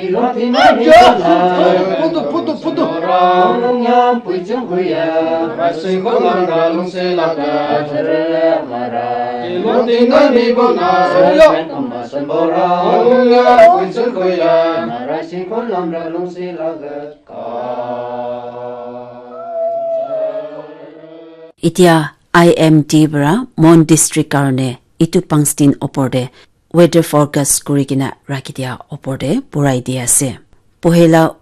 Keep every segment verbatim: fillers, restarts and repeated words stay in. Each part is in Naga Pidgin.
Etia I M D para Mon District karne itu pangstin opor te weather forecast kuri kena rakhi dia opor te purai di ase. Pohela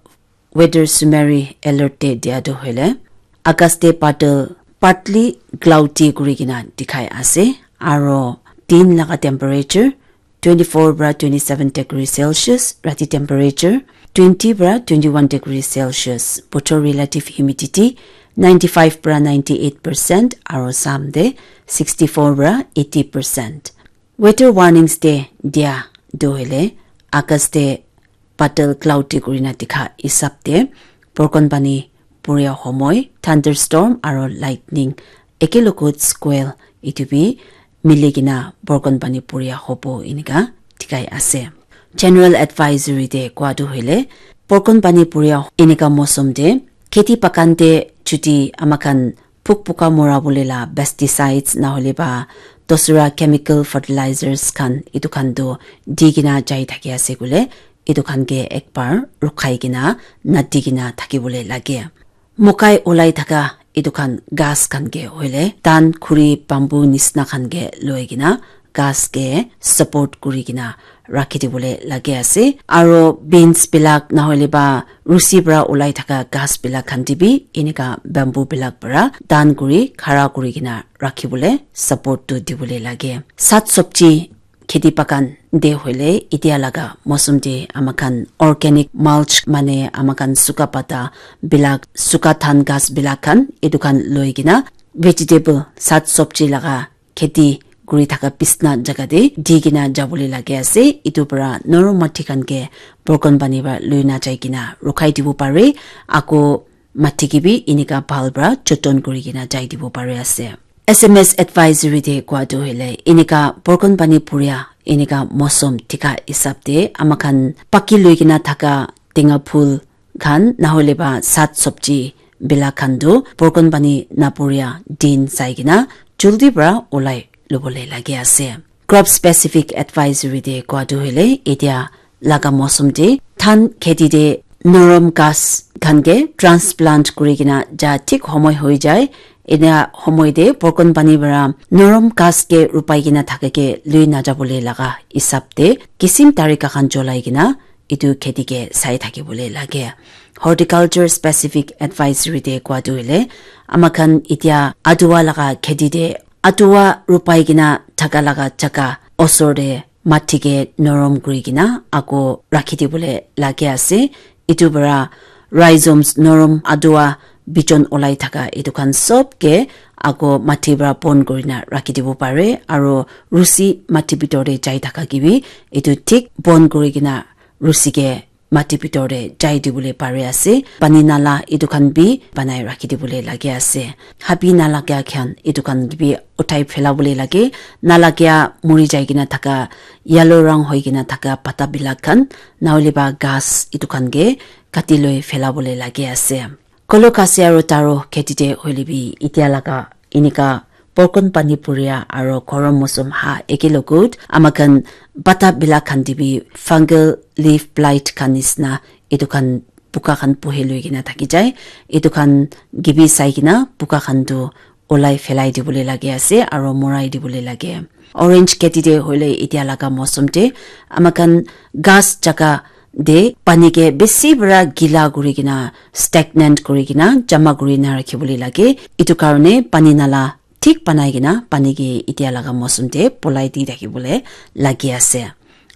weather summary alert te dia tu hoile, August te badal partly cloudy kuri kena dikhai ase, aro din laga temperature twenty-four para twenty-seven degree Celsius, rati temperature twenty para twenty-one degree Celsius, bothor relative humidity ninety-five para ninety-eight percent, aro sam te sixty-four para eighty percent. Weather warnings te dia tu hoile, August te badal cloudy kurina dikha hisab te borkon pani puria homoi, thunderstorm aro lightning, ekelogot squall itu bi mili kena borkon pani puria hobo enika dikhai ase. General advisory te koa tu hoile, borkon pani puria enika mosom te kheti bagan te chuti amakhan puk puka mora bole la pesticides nahole ba dosra chemical fertilizers khan, itu khan tu di kena jai thaki ase koile, itu khan ke ekbar rukhai kena nadi kena thaki bole lage. Mokai ulai thaka itu khan ghas khan ke hoile tan, khuri, bamboo nisna khan ke loi kena ghas ke support kuri kena rakhi dibole lage ase. Aro beans bilak nahole ba rusi para ulai thaka ghas bilak khan te bi enika bamboo bilak para tan kuri khara kuri kena rakhi bole support tu dibole lage. Sat sobji kheti bagan te hoile etia laga mosom te amakhan organic mulch mane amakhan suka pata bilak, suka than ghas bilak khan itu khan loi kena vegetable sat sobji laga kheti kuri thaka bisna jaga te di kena jabole lage ase. Itu para norom mati khan ke borkon pani para lui na jai kena rukhai dibo pare. Ako mati ke bi enika bhal para joton kuri kena jai dibo pare ase. S M S advisory te koa tu hoile enika borkon pani puria enika mosom thika hisab te amakhan paki lui kena thaka tenga phul khan nahole ba sat sobji bilak khan tu borkon pani napuria din sai kena juldi para ulai lobole lage ase. Crop specific advisory te koa tu hoile etia laga mosom te than kheti te norom ghas khan ke transplant kuri kena ja thik homoi hoi jai. Ena homoi te borkon pani para norom ghas ke rupai kena thaka ke lui na jabole laga hisab te kisim tarika khan cholai kena itu kheti ke sai thaki bole lage. Horticulture specific advisory te koa tu hoile amakhan etia adua laga kheti te adua rupai kena thaka laga jaga osor te mati ke norom kuri kena ako rakhi dibole lage ase. Itu para rhizomes norom adua bijon ulai thaka itu khan sob ke ako mati para bon kurina rakhi dibo pare, aro rusi mati bitor te jai thaka ke bi itu thik bon kuri kena rusi ke mati bitor te jai dibole pare ase. Pani nala itu khan bi banai rakhi dibole lage ase. Habi nalaga khan itu khan bi uthai phela bole lage. Nalaga muri jai kena thaka yellow rang hoi kena thaka pata bilak khan nahole ba ghas itu khan ke kati loi phela bole lage ase. Kolo khasi aro taro kheti te hoile bi etia laga enika borkon pani puria aro gorom mosom ha eke logot amakhan pata bilak khan te bi fungal leaf blight khan nisna itu khan puka khan puhi lui kena thaki jai. Itu khan ke bi sai kena puka khan tu olai phelai dibole lage ase aro morai dibole lage. Orange kheti te hoile etia laga mosom te amakhan ghas jaga te pani ke bisi para gila kuri kena, stagnant kuri kena jama kuri na rakhi bole lage. Itu karne pani nala thik banai kena pani ke etia laga mosom te polai di thaki bole lagi ase.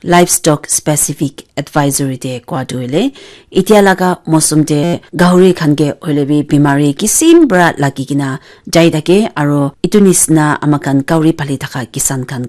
Livestock specific advisory te koa tu hoile etia laga mosom te gahuri khan ke hoile bi bimari kisim para lagi kena jai thake, aro itu nisna amakhan gahuri pali thaka kisan khan